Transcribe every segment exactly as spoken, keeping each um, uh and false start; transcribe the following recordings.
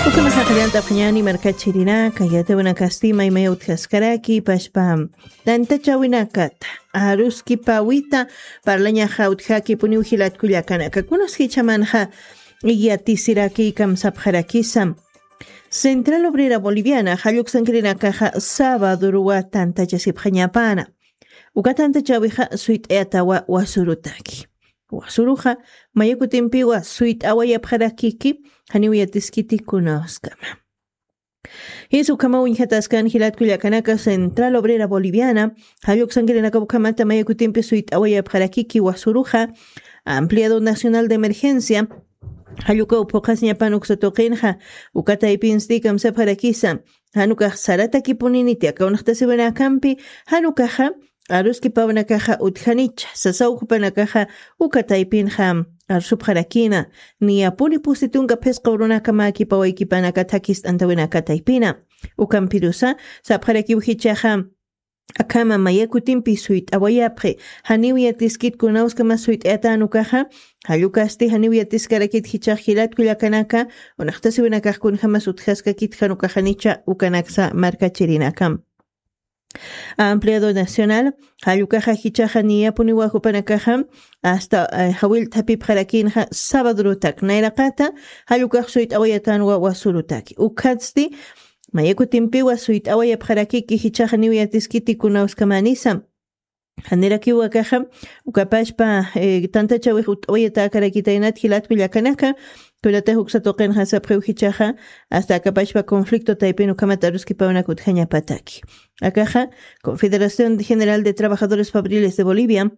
Ukhama jaqallantapxañani markachirinaka, yatawinakasti maymaya utjaskaraki pashpa tantachawinakata aruskipawita parlañaxa utjakipuniw jilatkullakanaka. Kunas jichamanxa yatisirakïkam sapxarakisa. Central Obrera Boliviana jalluksankirinakaxa sabaduruwa tantachasipxañapana. Uka tantachawixa suyt'ayatawa wasurutaki. Wasuruxa mayakutimpiwa suyt'awayapxarakiki, janiw yatiskiti kunawskama. Jis ukhama uñjataskan jilatkullakanaka Central Obrera Boliviana jalluksankirinaka ukhamata mayakutimpi suyt'awayapxarakiki wasuruxa Ampliado Nacional de Emergencia jallukaw phuqhasiñapan uksa tuqinxa. Uka taypinsti kamsapxarakisa janukax saratakipuniniti aka unaqtasiwinakampi janukaxa aruskipawnakaxa utjanicha sasaw jupanakaxa uka taypinxa arsupxarakina. Niyapuni pusi tunka phisqa urunaka mäkipawaykipanaka thakist'antawinaka taypina. Ukampirusa sapxarakiw jichaxa akhama mayakutimpi suyt'awayapxi, janiw yatiskit kunawskama suyt'ayatanukaxa. Jallukasti janiw yatiskarakit jichax jilatkullakanaka unaqtasiwinakax kunjamas utjaskakit janukaxanicha ukanaksa markachirinakam. Ampliado Nacional jallukaxa jichaxa niyapuniwa jupanakaxa asta jawillt'apipxarakinxa sabadurutak nayraqata jallukax suyt'awayatanwa wasurutaki ukhatsti mayakutimpiwa suyt'awayapxarakiki jichaxa niw yatiskiti kunawskamanisa. Janirakiwakaxa ukapashpa tantachawix ut'awayatakarakitaynat jilatkullakanaka. Kunatax uksa tuqinxa sapxiw jichaxa asta akapashpa conflicto taypin ukhamat aruskipawnaka utjañapataki. Akaxa Confederación General de Trabajadores Fabriles de Bolivia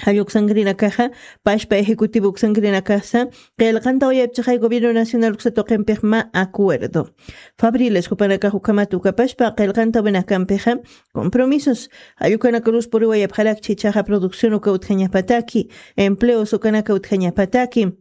jalluksankirinakaxa pashpa ejecutivo uksankirinakasa qillqantawayapchixay gobierno nacional uksa tuqimpix mä acuerdo. Fabriles jupanakax ukhamat ukapashpa qillqantawinakampixa compromisos jallukanakarus puriwayapxarakchi jichaxa producción uka utjañapataki, empleos ukanaka utjañapataki.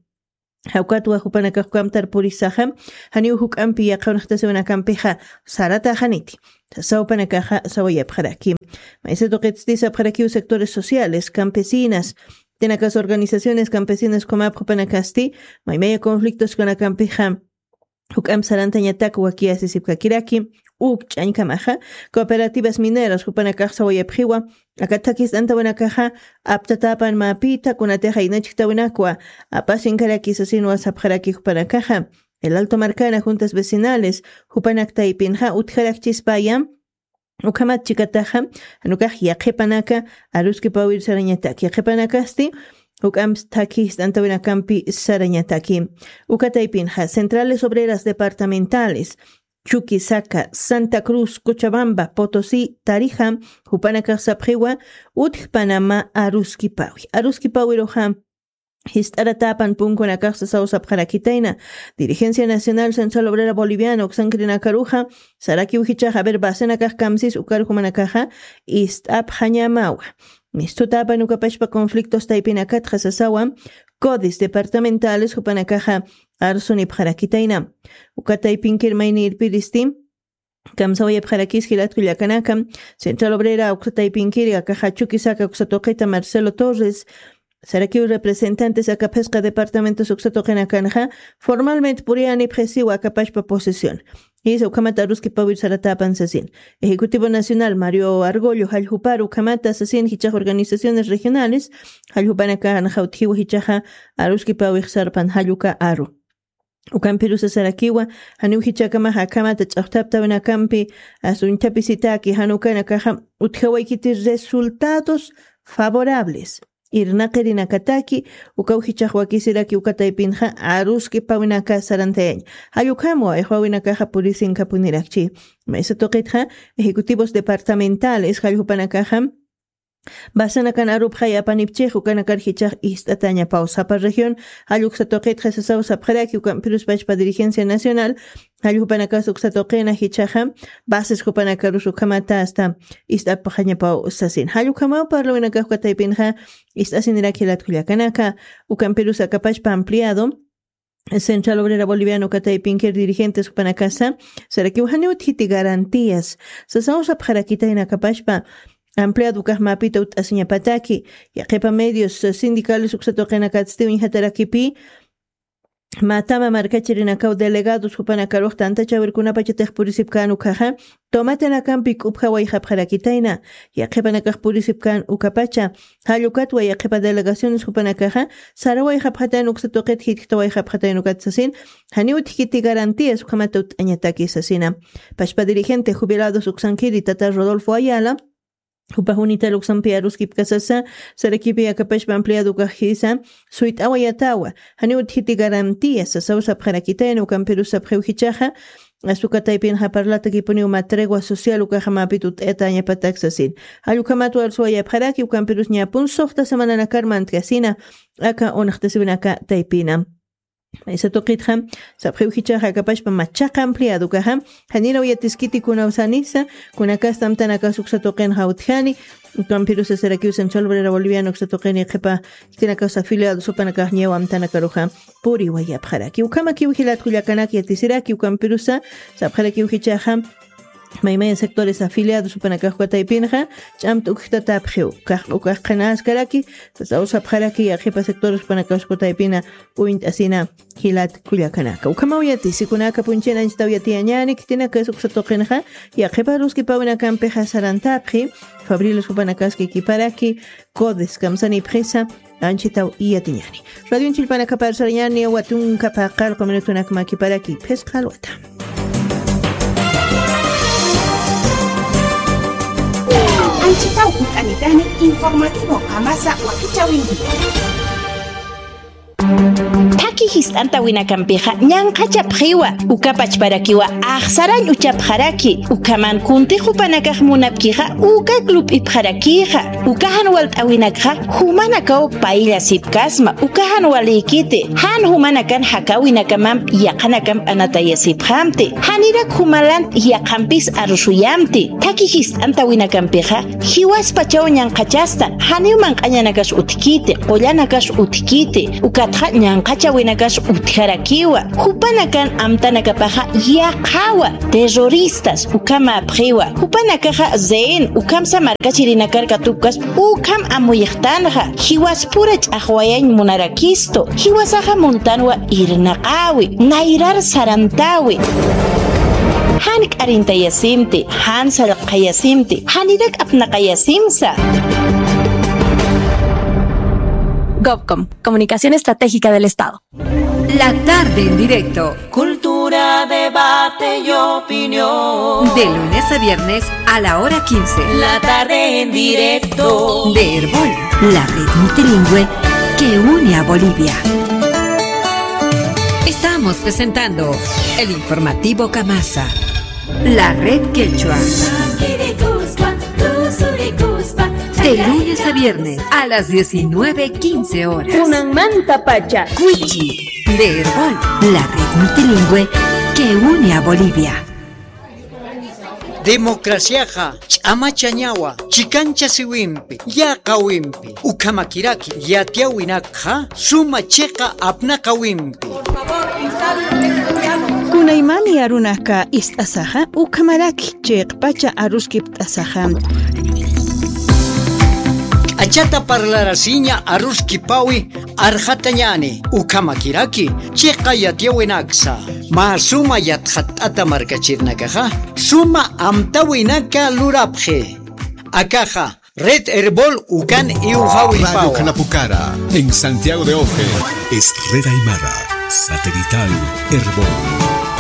Jawkatwa jupanakax ukamtar purisaxa janiw juk'ampi yaqha unaqtasiwinakampixa sarataxaniti sasaw jupanakaxa sawayapxaraki. Maysa tuqitsti sapxarakiw sectores sociales campesinas tinakas organizaciones campesinas ukhamap jupanakasti maymaya conflictos kanakampixa juk'amp sarantañatak wakiyasisipkakiraki. Uk ch'añkamaxa cooperativas mineras jupanakax sawayapxiwa aka thakist'antawinakaxa aptatapan mäpita kunatixa inachktawinakwa apasinkaraki sasinwa sapxaraki jupanakaxa. El Alto Marcana juntas vecinales jupanak taypinxa utjarakchispaya ukhamat chikataxa janukax yaqhipanaka aruskipawir sarañatak yaqhipanakasti juk'amp thakist'antawinakampi sarañataki. Uka taypinxa centrales obreras departamentales Chuquisaca, Santa Cruz, Cochabamba, Potosí, Tarija jupanakax sapxiwa utjpanama aruskipawi aruskipawiruxa jist'aratapan punkunakax sasaw sapxarakitayna. Dirigencia Nacional Central Obrera Boliviana uksankirinakaruxa sarakiw jichaxa aver basenakax kamsis ukar jumanakaxa ist'apxañamawa. Mistutapan ukapashpa conflictos taypinakatxa sasawa codis departamentales jupanakaxa arsunipxarakitayna. Uka taypinkir maynirpiristi kamsawayapxarakis jilatkullakanaka. Central Obrera uksa taypinkiri akaxa Chuquisaca uksa tuqita Marcelo Torres sarakiw representantes aka phisqa departamentos uksa tuqinakanxa formalmente puriyanipxisiwa akapashpa posesión. Jisa ukhamata aruskipawir saratapan sasin ejecutivo nacional Mario Argollo jalljuparu ukhamata sasin jichax organizaciones regionales jalljupanaka anaxawtjiwa jichaxa aruskipawix sarpan jalluka aru. Ukampirusa sarakiwa janiw jichakamaxa akhamata ch'axtaptawinakampi asuñthapisitaki janukanakaxa utjawaykiti resultados favorables irnaqirinakataki. Ukaw jichax wakisiraki uka taypinxa aruskipawinaka sarantayaña jallukhamwa ixwawinakaxa purisinkhapunirakchi. Maysa tuqitxa ejecutivos departamentales jalljupanakaxa basanakan arupxay apanipchix ukanakar jichax ist'atañapaw sapa región jalluksa tuqitxa sasaw sapxaraki ukampirus pachpa dirigencia nacional jallukpanakas uksa tuqina jichaxa bases jupanakarus ukhamata asta ist'apxañapaw sasin jallukhamaw parlawinakax uka taypinxa ist'asinirak jilatkullakanaka. Ukampirus akapachpa ampliado Central Obrera Boliviana uka taypinkir dirigentes jupanakasa sarakiw janiw utjiti garantías sasaw sapxarakitayna akapachpa ampliado ukax mäpita ut'asiñapataki. Yaqhipa medios sindicales uksa tuqinakatsti uñjatarakipi Matama markachirinakaw delegados jupanakarux tantachawirkunapachatix purisipkän ukhaxa, tomatanakampi k'upja wayxapxarakitayna, yaqhipanakax purisipkän ukapacha, jall ukatwa yaqhipa delegaciones jupanakaxa, sara wayxapxatayna uksa tuqit jitjta wayxapxatayna ukat sasin, janiw utjkiti garantías ukhamat utt'añataki sasina. Pachpa dirigente jubilados uksankiri tata Rodolfo Ayala, jupa junital uksampi aruskipkasasa, sarakipi akapachpa ampliado ukajisa, suyt'awayatawa, janiw utjiti garantías sasaw sapxarakitayna ukampirus sapxiw jichaxa, asukataypinxa parlatakipuniw mä tregua social ukaxamapit utt'ayatañapatak sasin. Jall ukhamat warsuwayapxaraki ukampirus ñapun suxta semananakar mantkasina, aka unxtasiwinaka taypina. Maysa tuqitxa, sapxiw jichaxa akapachpa machaqa ampliado ukaxa, janiraw yatiskiti kunaw sanisa, kunakasta amtanakas uksa tuqinxa utjani, ukampirusa sarakiw Central Obrera Boliviana uksa tuqini qhipa, khitinakax afiliados jupanakax ñaw amtanakaruxa, puriwayapxaraki. Ukhamakiw jilat kullakanak yatisiraki ukampirusa, sapxarakiw jichaxa, maymaya sectores afiliados jupanakax ukataypinxa, ch'amt ukjtatapxiw, kax ukax qhinaskaraki, sasaw sapxaraki, yaqhipa sectores jupanakax ukataypina, uñt'asina, jilat kullakanaka. Ukhamaw yatisi kunaka punchina anchitaw yatiyañani, khitinakas uksa tuqinxa, yaqhipa aruskipawinakampixa sarantapxi, Fabriles jupanakaski kiparaki, CODES kamsanipxisa, anchitaw yatiñani. Radio Chilpanakapar sarañani, watunka paqallqu minutunak makiparaki, phisqa alwata. Anchitaw ukanitani informativo Qamasa wakichäwinki. Thaki jist'antawinakampixa ñanqhachapxiwa, uka pachparakiwa axsarañ uchapxaraki, ukhaman kuntix jupanakax munapkixa, uka lup'ipxarakïxa, uka jan walt'äwinakxa, jumanakaw payllasipkasma, uka jan walïkiti, jan jumanakan jakäwinakamamp yaqhanakamp anatayasipxamti, janirak jumalant yaqhampis arusuyamti, thaki jist'antawinakampixa, jiwaspachaw ñanqhachastan, janiw manq'añanakas utjkiti, qullanakas utjkiti, ukatxa ñanqhachäwinakas utjarakiwa, jupanakan amtanakapaxa yaqhawa, terroristas, ukhamäpxiwa, jupanakaxa rehén, ukhamsa markachirinakar katupkaspa, ukham amuyxtanxa, jiwaspura ch'axwayañ munarakistu, jiwasaxa muntanwa irnaqäwi, nayrar sarantäwi. Jan k'arintayasimti, jan sallqayasimti, janirak apnaqayasimsa. Gobcom, Comunicación Estratégica del Estado. La tarde en directo. Cultura, debate y opinión. De lunes a viernes a la hora quince. La tarde en directo. De Erbol, la red multilingüe que une a Bolivia. Estamos presentando el informativo Kamasa. La red quechua. De lunes a viernes a las diecinueve quince horas. Kunanmantapacha. Cuichi. De Erbol, la red multilingüe que une a Bolivia. Democraciaxa ch'amachañawa, chikanchasiwimpi, yaqhawimpi, ukhamakiraki yatiyäwinakxa suma chiqa apnaqawimpi. Kunaymani arunaka ist'asaxa, ukhamaraki chiqpacha aruskipt'asaxa. K'achata parlarasiña aruskipawi arxatañani, ukhamakiraki chiqa yatiyäwinaksa. Mä suma yatxatt'ata markachirinakaxa, suma amtäwinaka lurapxi. Akaxa, Red Erbol ukan iwxawipawa. Radio Janapucara, en Santiago de Oje. Es Red Aymara, satelital, Erbol.